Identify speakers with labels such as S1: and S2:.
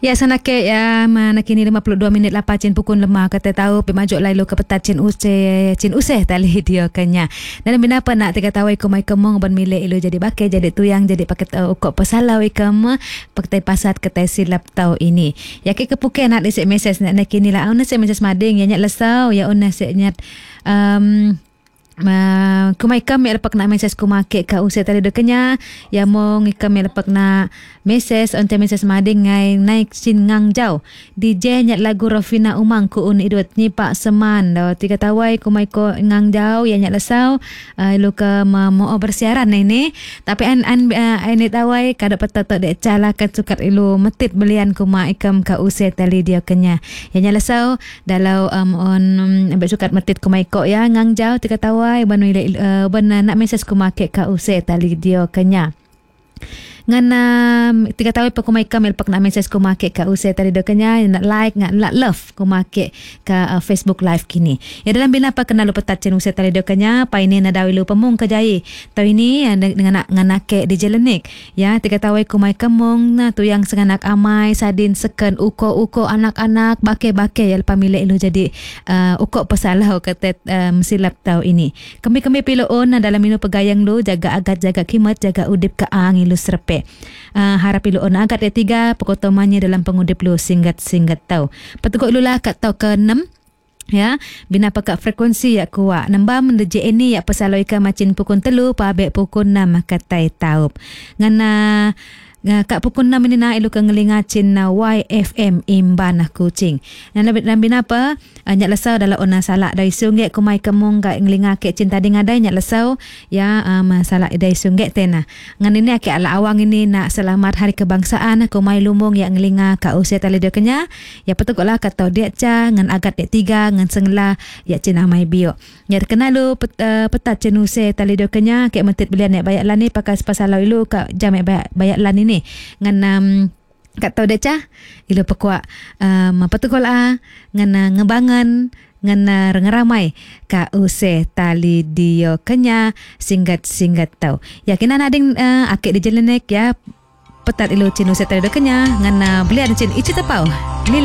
S1: Ya sanake ya mana kini 52 minit lapa cin pukul lemah kata tahu pi maju lai lu ke petat cin use cin useh tali dia kenya. Dan bina apa nak tiga tahu iku mai kemong ban milik ilu jadi bake jadi tuyang jadi paket ukok pesalau ikam pakai pasat ketai silap tau ini. Ya ke kepuke nak isik mesej nak nak kini lah una sik mesej mading ya nyat lesau ya una sik nyat kumai kam ya lepak nak mesej kumake ka usia tadi dekenya ya mong ikam ya lepak nak mesej onte mesej mading ngai naik sin ngang jauh DJ nyat lagu Rofina Umang ku un idut ni pak seman do tiga tawai kumai ko ngang jauh ya nyat lesau lu ke mau bersiaran ini tapi an an ini tawai kada petato dek cala kan sukat ilu metit belian kuma ikam ka usia tali dia kenya ya nyat lesau dalau on ambek sukat metit kumai ko ya ngang jauh tiga tawai ban ban nak mesej kumake ka use tali dia kenya. Ngan tiga tahu pa kumai kamil pak nak mesej kumake ka use tali dia kenya nak like nak love kumake ka Facebook live kini. Ya dalam bina pa kena lu petat cen use tali dia kenya pa ini na dawi lu pemung ke jai. Tau ini dengan nganake di jelenik. Ya tiga tahu kumai kemung na tu yang senganak amai sadin seken uko-uko anak-anak bake-bake ya pamile lu jadi uko pesalah ketet silap tau ini. Kami-kami piloon na dalam minu pegayang lu jaga agat jaga kimat jaga udip ka ang ilu serpe. Harap ilu on agat ya tiga pekotomannya dalam pengudip lu singgat-singgat tau. Petukuk lu lah kat tau ke 6 ya bina pakak frekuensi ya kuat nambah mendeje ini ya pesaloi ka macin pukul 3 pabek pukul 6 katai taup. Ngana kak pukul 6 ini na ilu ke ngelinga cin YFM Imbanah Kuching. Dan lebih apa nyak lesau dalam ona salak dari sungai kumai kemung kak ngelinga ke cinta dengadai nyak lesau ya salak dari sungai tena. Ngan ini akik ala awang ini nak selamat hari kebangsaan kumai lumung yang ngelinga kak usia tali dia kenya ya petuklah kata dia ca ngan agat dia tiga ngan sengla ya cina mai bio. Ya terkena lu petat cenuse tali dia kenya kek mentit belian nek bayak lan ni pakai sepasalau ilu kak jam nek bayak lan ini ngan kat tau deca ilu pekuak petukul a ngan ngebangan ngan rengeramai ka use tali dio kenya singgat-singgat tau. Yakin ading akik di jelenek ya petat ilu cin use tali dio kenya ngan belian cin ici tepau. Lili.